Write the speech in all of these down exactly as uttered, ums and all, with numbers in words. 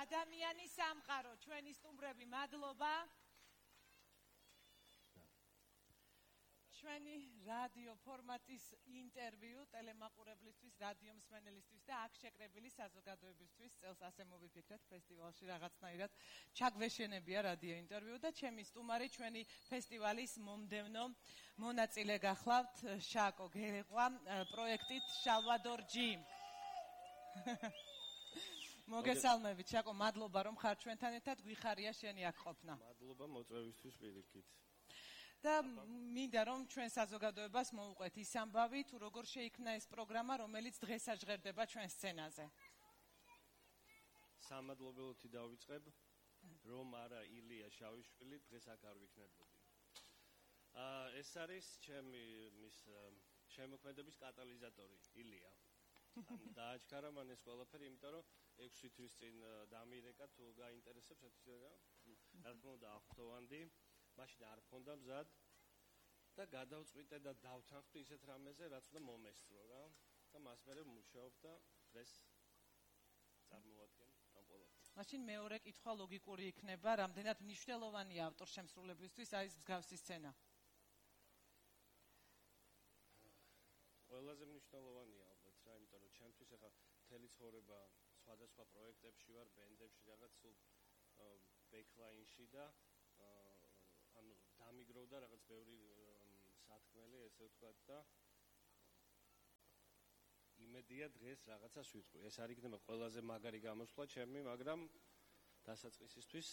ადამიანის სამყარო, ჩვენი სტუმრები, მადლობა. ჩვენი რადიო ფორმატის ინტერვიუ ტელემაყურებლისთვის, რადიო მსმენელისთვის და აქ შეკრებილი საზოგადოებისთვის წელს ასე მოვიფიქრეთ ფესტივალში რაღაცნაირად ჩაგვეშენებია რადიო ინტერვიუ და ჩემი სტუმარი ჩვენი ფესტივალის მომდევნო მონაწილე გახლავთ შაკო გერეყვა პროექტით შალვადორ ჯი. მოგესალმებით შაკო, მადლობა რომ ხარ ჩვენთან ერთად, გვიხარია შენი აქ ყოფნა. მადლობა მოწვევისთვის პირიქით. და მინდა რომ ჩვენ საზოგადოებას მოუყვეთ ის ამბავი, თუ როგორ შეიქმნა ეს პროგრამა, რომელიც დღეს აჟღერდება ჩვენ სცენაზე. სამადლობელოთი დავიწყებ, რომ არა ილია შავიშვილი დღეს აქ არ ვიქნებოდი. აა ეს არის ჩემი მის შემოქმედების კატალიზატორი ილია. დააჩქარა მან ეს ყველაფერი, იმიტომ რომ ექვსი თვის წინ დამირეკა, თუ გაინტერესებს ეთქვა, რა თქმა უნდა აღფრთოვანდი. მაშინ არ მქონდა მზად და გადავწყვიტე და დავთანხმდი ისეთ რამეზე, რაც უნდა მომესწრო რა. და მას მერე მუშაობ და დღეს წარმოვადგენ ამ ყველაფერს. მაშინ მეორე კითხვა ლოგიკური იქნება, რამდენად მნიშვნელოვანია ავტორშემსრულებლისთვის აი ეს მსგავსი სცენა? ყველაზე მნიშვნელოვანია ალბათ რა, იმიტომ რომ ჩემთვის ახლა მთელი ცხოვრება სხვადასხვა პროექტებში ვარ, ბენდებში, რაღაც სულ ბექლაინში და ანუ დამიგროვდა რაღაც ბევრი სათქმელი, ესე ვთქვათ და იმედია დღეს რაღაცას ვიტყვი. ეს არ იქნება ყველაზე მაგარი გამოსვლა ჩემი, მაგრამ დასაწყისისთვის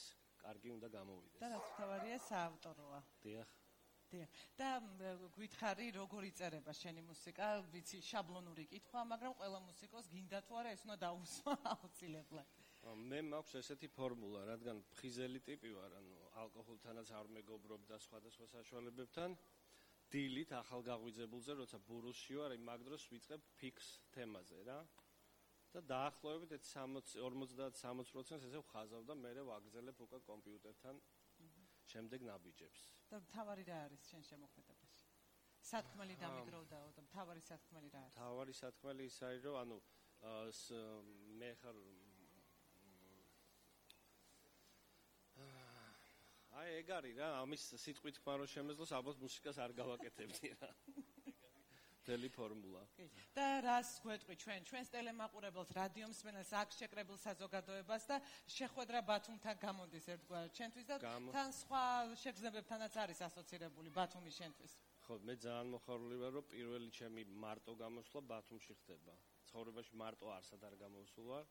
კარგი უნდა გამოვიდეს. და რაც თავარია საავტოროა. დიახ. დიახ. და გითხარი როგორ იწერება შენი მუსიკა? ვიცი, შაბლონური კითხვა, მაგრამ ყველა მუსიკოს გინდა თუ არა ეს უნდა დაუსვა აუცილებლად. მე მაქვს ესეთი ფორმულა, რადგან ფხიზელი ტიპი ვარ, ანუ ალკოჰოლთანაც არ მეგობრობ და სხვადასხვა საშუალებებთან, დილით ახალგაღვიძებულზე, როცა ბურუსში ვარ, მაგ დროს ვიწყებ ფიქს თემაზე რა. და დაახლოებით ორმოცდაათ სამოცი პროცენტს ესე ვხაზავ და მერე ვაგრძელებ უკვე კომპიუტერთან შემდეგ ნაბიჯებს. და თავარი რა არის შენ შემოქმედებაში? სათქმელი დამიგროვდაო და თავარი სათქმელი რა არის? თავარი სათქმელი ის არის, რომ ანუ მე ხარ აი ეგ არის რა, ამის სიტყვით თქვა რომ შემეძლოს, ალბათ მუსიკას არ გავაკეთებდი რა. მთელი ფორმულა. და რას გვეტყვი ჩვენ, ჩვენს ტელემაყურებელს, რადიო მსმენელს, აქ შეკრებილ საზოგადოებას და შეხვედრა ბათუმთან გამოდის ერთგვარად ჩვენთვის და თან სხვა შეგრძნებებთანაც არის ასოცირებული ბათუმი შენთვის. ხო, მე ძალიან მოხარული ვარ, რომ პირველი ჩემი მარტო გამოსვლა ბათუმში ხდება. ცხოვრებაში მარტო არსად არ გამოსულ ვარ.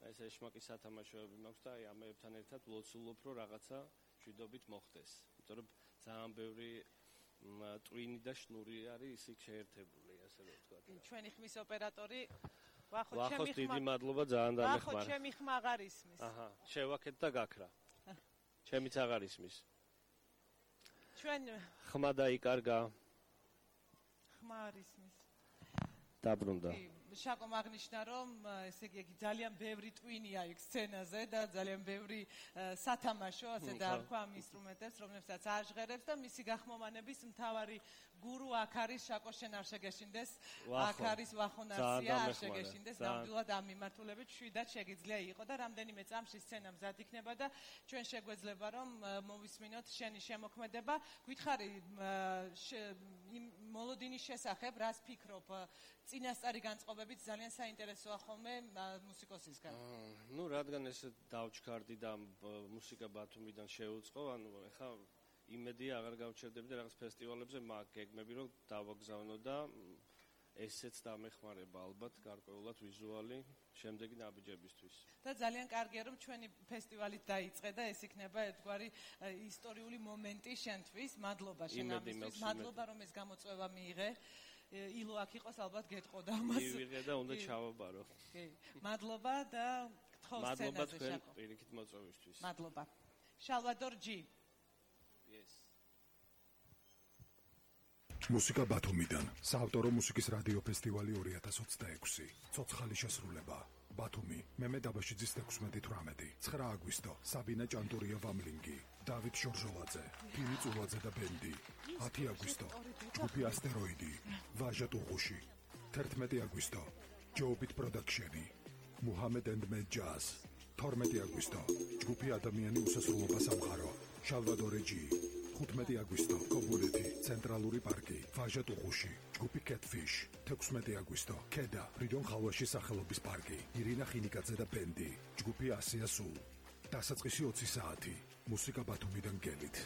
ეს ეშმაკი სათამაშოები მაქვს და აი ამებთან ერთად ვლოცულობ, რომ რაღაცა შვიდობით მოხდეს. იმიტომ რომ ძალიან ბევრი ტვინი და შნური არის ისიქ შეერთებული, ასე რომ ვთქვათ. ჩვენი ხმის ოპერატორი ვახო ჩემი ხმა. ვახო დიდი ხმა... მადლობა, ძალიან დამეხმარა. ვახო ჩემი ხმა აღარ ისმის. აჰა, შევაქეთ და გაქრა. ჩემიც აღარ ისმის. ჩვენ ხმა დაიკარგა. ხმა არ ისმის. დაბრუნდა. შაკო მაგნიშნა რომ ესე იგი ძალიან ბევრი ტვინია იქ სცენაზე და ძალიან ბევრი სათამაშო, ასე დაარქვა ამ ინსტრუმენტებს, რომლებსაც აჟღერებს და მისი გახმოვანების მთავარი გურუ აქ არის შაკო, შენ არ შეგეშინდეს, აქ არის ვახონარსია, არ შეგეშინდეს, ნამდვილად ამ მიმართულებით შვიდად შეგიძლია იყო და რამდენიმე წამში სცენა მზად იქნება და ჩვენ შეგვეძლება რომ მოვისმინოთ შენი შემოქმედება. გითხარი იმ მოლოდინის შესახებ, რას ფიქრობ? წინასწარი განწყობებით ძალიან საინტერესოა ხოლმე მუსიკოსისგან. ნუ რადგან ეს დავჩქარდი და მუსიკა ბათუმიდან შეუწყო, ანუ ეხა იმედია აღარ გავჩერდები და რაღაც ფესტივალებზე მაგ გეგმები რომ დავაგზავნო და ესეც დამეხმარება ალბათ გარკვეულად ვიზუალი შემდეგი ნაბიჯებისთვის. და ძალიან კარგია რომ ჩვენი ფესტივალით დაიწყე და ეს იქნება ერთგვარი ისტორიული მომენტი შენთვის. მადლობა შენ ამისთვის, მადლობა რომ ეს გამოწვევა მიიღე. ილო აქ იყოს ალბათ გეტყოდა ამას. მივიღე და უნდა ჩავაბარო. კი. მადლობა და გთხოვ სცენაზე შაკო. მადლობა თქვენ პირიქით მოწვევისთვის. მადლობა. შალვადორ ჯი. Yes. მუსიკა ბათუმიდან. საავტორო მუსიკის რადიო ფესტივალი ორი ათას ოცდაექვსი. ცოცხალი შესრულება. ბათუმი, მემე დაბაშიძის ექვსმეტი თვრამეტი. ცხრა აგვისტო. საბინა ჭანტურია ვამლინგი. დავით ჟორჟოლაძე, ფილი წულაძე და ბენდი. ათი აგვისტო. ჯგუფი ასტეროიდი. ვაჟა ტუღუში. თერთმეტი აგვისტო. ჯოუბით პროდაქშენი. მუჰამედ ენდ მე ჯაზ. თორმეტი აგვისტო ჯგუფი ადამიანი უსასრულობა სამყარო შალვადორე ჯი ხუთმეტი აგვისტო კობულეთი ცენტრალური პარკი ვაჟა ტუღუში ჯგუფი კეთფიშ თექვსმეტი აგვისტო ქედა ფრიდონ ხალვაში სახელობის პარკი ირინა ხინიკაძე და ბენდი ჯგუფი ასია სულ დასაწყისი ოცი საათი მუსიკა ბათუმიდან გელით